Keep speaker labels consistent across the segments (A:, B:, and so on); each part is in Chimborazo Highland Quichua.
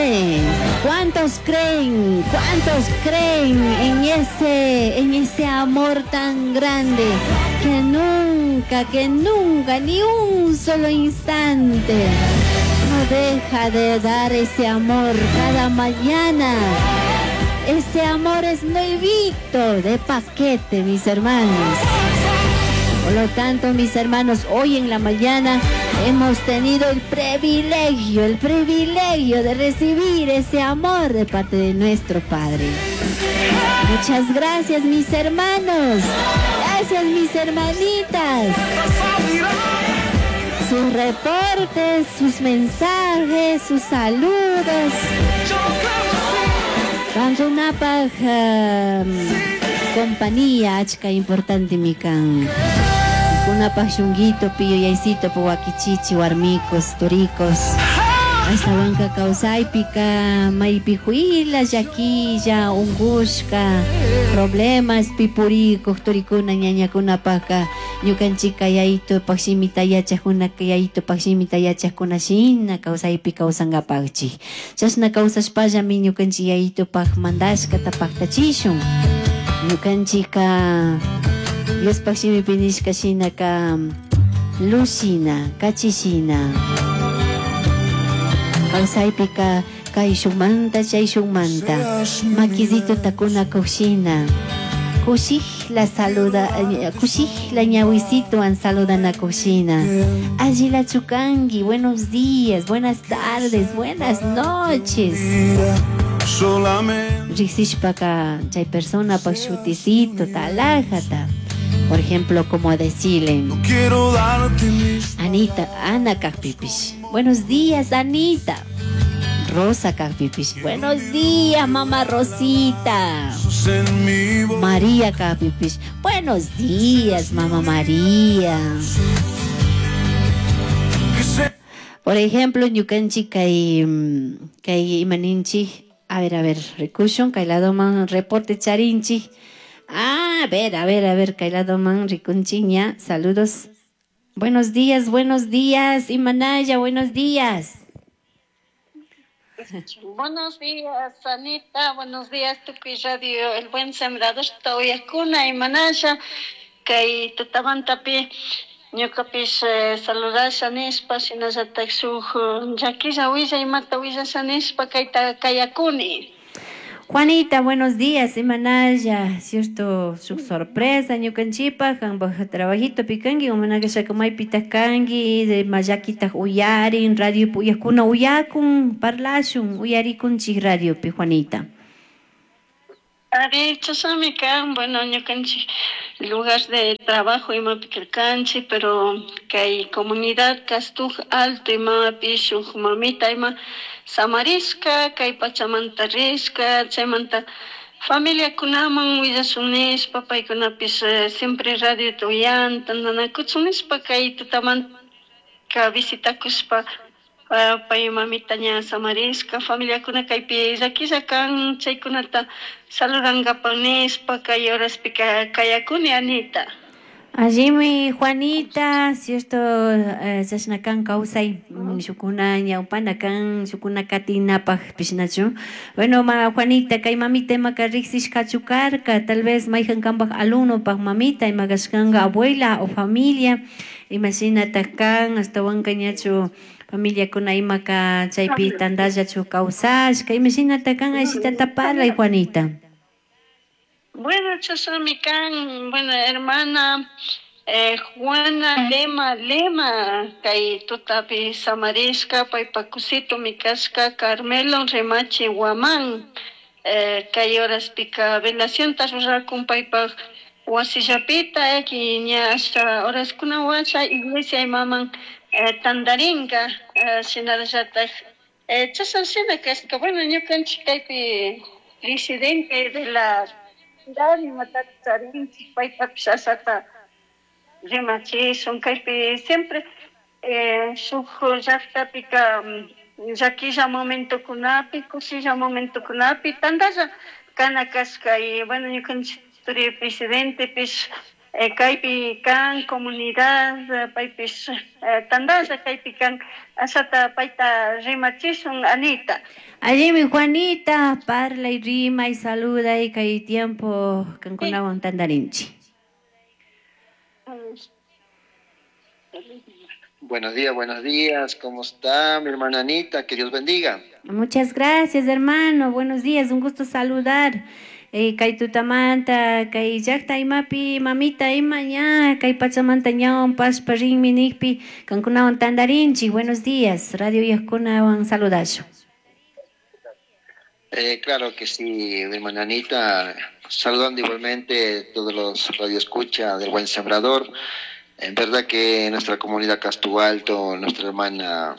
A: cree? ¿Cuántos creen? ¿Cuántos creen en ese amor tan grande que nunca, ni un solo instante no deja de dar ese amor cada mañana? Ese amor es nuevito, de paquete, mis hermanos. Por lo tanto, mis hermanos, hoy en la mañana hemos tenido el privilegio de recibir ese amor de parte de nuestro Padre. Muchas gracias, mis hermanos. Gracias, mis hermanitas. Sus reportes, sus mensajes, sus saludos. Kankunapaj compañía achka importante mi kan. Kunapaj shunguito yuyaysito wakichichi warmicos, turicos. Ashtawanka kawsaypika maypi huila llaquilla, ungushka, problemas pipurikuq turikuna ñañakunapaka ñukanchika yayitupaq shimita yachajkunaka yayitupaq shimita yachajkuna shina kawsaypi kawsankapakchik. Chashna kawsashpallami ñukanchik yayitupaq mandashkata paktachishun. Ñukanchika Diospaq shimipi nishka shinaka luz shina, kachishina. Kawsaypika kayshunmanta chayshunmanta makisituta kunakuqshina kushikla saluda, kushikla ñawisituwan saludanakuqshina. Allilachu kanki, buenos días, buenas tardes, buenas noches. Riqsishpaka chay personapaq shutisito talajata. Por ejemplo, como decirle
B: Quiero darte mis
A: Anita, Ana kaqpipish. Buenos días, Anita. Rosa kaqpipish. Buenos días, mamá Rosita.
B: En mi voz.
A: María kaqpipish. Buenos días, mamá María.
B: Que se
A: Por ejemplo, ñukanchik kay kay imaninchik. A ver, a ver, rikushun kay ladoman reporte charinchik. Ah, a ver, a ver, a ver, kay ladoman rikunchik ña. Saludos. Buenos días, Imanaya, buenos días.
C: Buenos días, Anita. Buenos días, Tukuy Radio El Buen Sembrador. Uyakuna, Imanaya. Kay tutamantapi ñukapish saludasha nishpa shinallatak shuk llakilla willa imata willasha nishpa kayta kayakuni.
A: Juanita, buenos días, Imanaya, cierto, su sorpresa, ñukanchipaj, kanpaj trabajito pikanki, umanakashaka maypitaq kanki, de mayakitaq uyarin, radio uyakuna uyakun, parlashun, uyarikunchik radiopi, Juanita.
C: Ari, chashnami kan, bueno, ñukanchik lugar de trabajo imapi karkanchik, pero kay comunidad Castuj Alto imapi shuk mamita ima samarishka, kay pachamanta rishka, chaymanta familiakunaman willashun nishpa, paykunapish siempre radiota uyan, tantanakuchun nishpa kay tutamanta visitakushpa pay mamita ña samarishka, familiakuna kaypi llakilla kan, chaykunata saludankapak nishpa kay horaspika kayakuni, Anita.
A: Allimi, Juanita, cierto, chashna kan kawsay, shukuna ñawpana kan, shukuna katinapaj pishnachu. Bueno, ma Juanita, kay mamita imaka riqsishkachu karka, tal vez mayjan kanpaj alumnopaj mamita ima kashkanka abuela o familia, imashinatak kan, ashtawanka ñachu familiakuna imaka chaypi tantallachu kawsashka, imashinatak kan, ashitata parlay, Juanita.
C: Bueno, chashnami kan, bueno, hermana Juana Lema Lema, kay tutapi samarishka, paypa kusitomi kashka Carmelo Remache Guamán, kay horaspika velacionta rurakun paypaj wasillapita, ña asha horaskuna washa iglesia imaman tandarinka, shinallatak chashna shina kashka. Bueno, ñukanchik kaypi presidente de la imatata charinchik, paytapish ashata rimachishun. Kaypi siempre shuk llaktapika llakilla momentokunapi, kushilla momentokunapi tantalla kana kashka. Y bueno, ñukanchik turi presidentepish Kaypi kan comunidad paypish tandalla kaypi kan ashata payta rimachishun Anita.
A: Allimi Juanita, parlay, rimay, saluday kay tiempo kankunawan tandarinchi.
D: Buenos días, ¿cómo está mi hermana Anita? Que Dios bendiga.
A: Muchas gracias, hermano, buenos días, un gusto saludar. Kay tutamanta, kay llaqta imapi, mamita ima ña, kay pachamanta ñawan paspa rinmi nikpi, kankunawan tandarinchi. Buenos días, radio yaqkunawan saludasho.
D: Claro que sí, mi hermana Anita, saludando igualmente todos los radioescucha del Buen Sembrador. En verdad que nuestra comunidad Castú Alto, nuestra hermana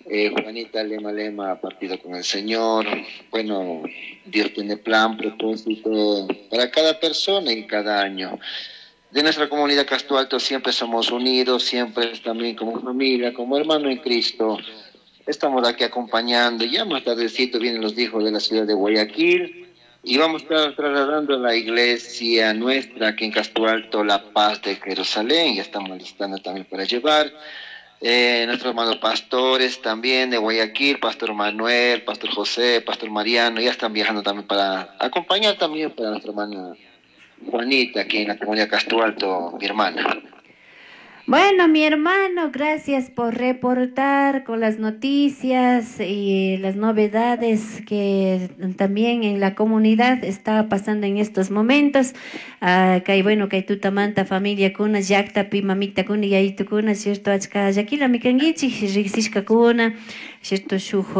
D: Juanita Lema Lema ha partido con el Señor. Bueno, Dios tiene plan, propósito para cada persona y cada año. De nuestra comunidad Castú Alto siempre somos unidos, siempre también como familia, como hermano en Cristo. Estamos aquí acompañando. Ya más tardecito vienen los hijos de la ciudad de Guayaquil y vamos a estar trasladando a la iglesia nuestra aquí en Castú Alto, La Paz de Jerusalén. Ya estamos listando también para llevar. Nuestros hermanos pastores también de Guayaquil, Pastor Manuel, Pastor José, Pastor Mariano, ya están viajando también para acompañar también para nuestra hermana Juanita, aquí en la comunidad Castú Alto, mi hermana.
A: Bueno, mi hermano, gracias por reportar con las noticias y las novedades que también en la comunidad está pasando en estos momentos. Kay bueno, kay tutamanta familia kuna, llaqtapi mamita kuna, yayitu kuna, cierto, achka llakila mikankichik, riqsishka kuna, cierto, shuj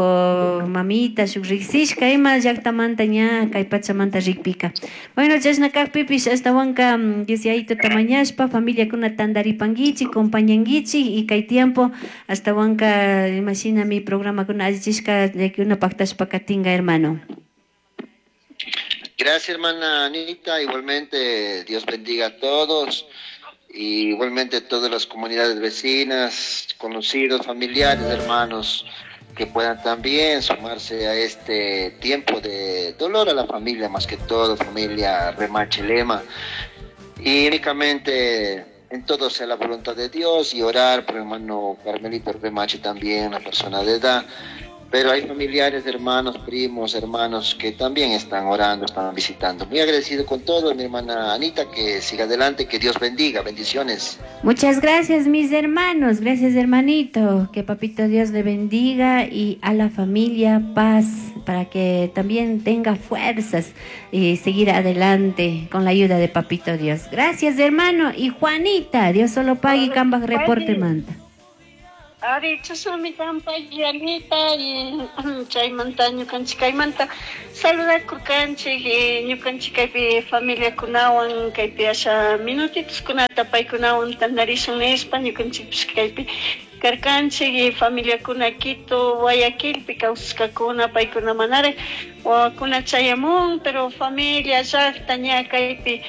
A: mamita, shuj riqsishka ima llaqtamanta ña, kay pachamanta rikpika. Bueno, chashna kaqpipish astawanka Dios yayituta mañashpa, familia kuna tandaripankichik, compañankichik y kay tiempo astawanka imashina mi programa kuna allichishka llakikuna paqtashpa katinga, hermano.
D: Gracias, hermana Anita. Igualmente, Dios bendiga a todos. Y igualmente todas las comunidades vecinas, conocidos, familiares, hermanos, que puedan también sumarse a este tiempo de dolor a la familia, más que todo, familia Remache Lema. Y únicamente en todo sea la voluntad de Dios y orar por el hermano Carmelito Remache también, una persona de edad. Pero hay familiares, hermanos, primos, hermanos que también están orando, están visitando. Muy agradecido con todo, mi hermana Anita, que siga adelante, que Dios bendiga, bendiciones.
A: Muchas gracias, mis hermanos, gracias, hermanito, que papito Dios le bendiga y a la familia paz, para que también tenga fuerzas y seguir adelante con la ayuda de papito Dios. Gracias, hermano, y Juanita, Dios solo pague y cambas reporte manta.
C: Ari, chashnami kanpay Anita y chaymanta ñukanchik kaymanta saludakurkanchik ñukanchik kaypi familiakunawan kaypi asha minutitoskunata paykunawan tandarishun nishpa ñukanchikpish kaypi karkanchik y familiakuna Quito, Guayaquilpi kawsashkakuna paykuna manaraq wawakuna chayamun, pero familia llaqta ña kaypi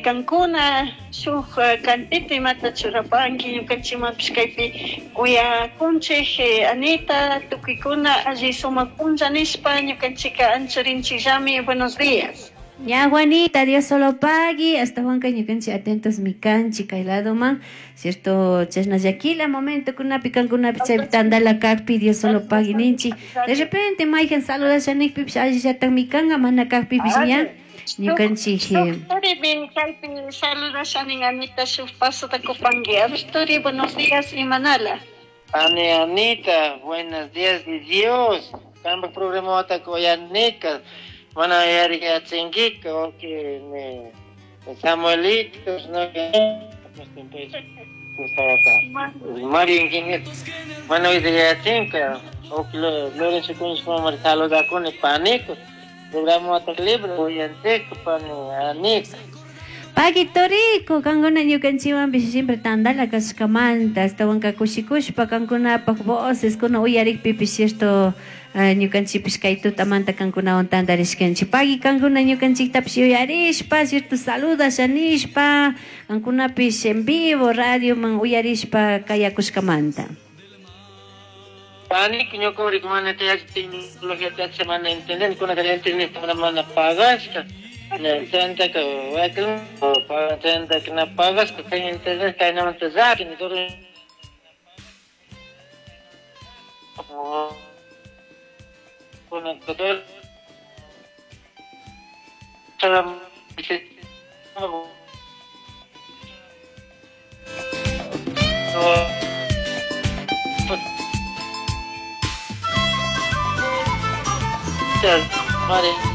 C: kankuna shuk cantito imata churapanki ñukanchikmanpish kaypi uyakunchik Anita tukuykuna alli sumak punlla nishpa ñukanchikka anchurinchikllami. Buenos días.
A: Ya, Juanita, Dios solo pagui. Hasta Juanca ñukanchik atentos mi kanchik kay ladoman, cierto, chashna llakila momento kunapi kankunapi chaypi tandala kakpi Dios solo pagui ninchik. De repente mayhan saludasha nikpipish allillatak mi kanka mana kakpipish ña ñukanchik.
C: Turi, kaypi saludashanin Anita, shuk pasota kupanki. A ver, Turi, buenos días, Imanala.
E: Ani Anita, buenos días, Dios. Kamba programa watakuyanika. Mana yariyachinkika, oke, ne Samuelito, no, Mario Ingeniero. Mana yariyachinkika, oke, Lorenzo Cuñiz como saludakuni panico. Programa wataku uyanchika, pani Anita.
A: Paquito rico, kankuna ñukanchikwanpish siempre tandala kashkamanta, astawanka kushikushpa kankunapaj voces kuna uyarikpipish cierto ñukanchikpish kay tutamanta kankunawan tandarishkanchik. Pagui kankuna ñukanchiktapish yuyarishpa, cierto saludasha nishpa, kankunapish en vivo radioman uyarishpa kayakushkamanta.
E: Pani, ñuka mana tecnología mana entender, kuna entender mana pagashka. Chantaka wakin chantaka na pagaspa kay internet kaynamanta llakini Mare.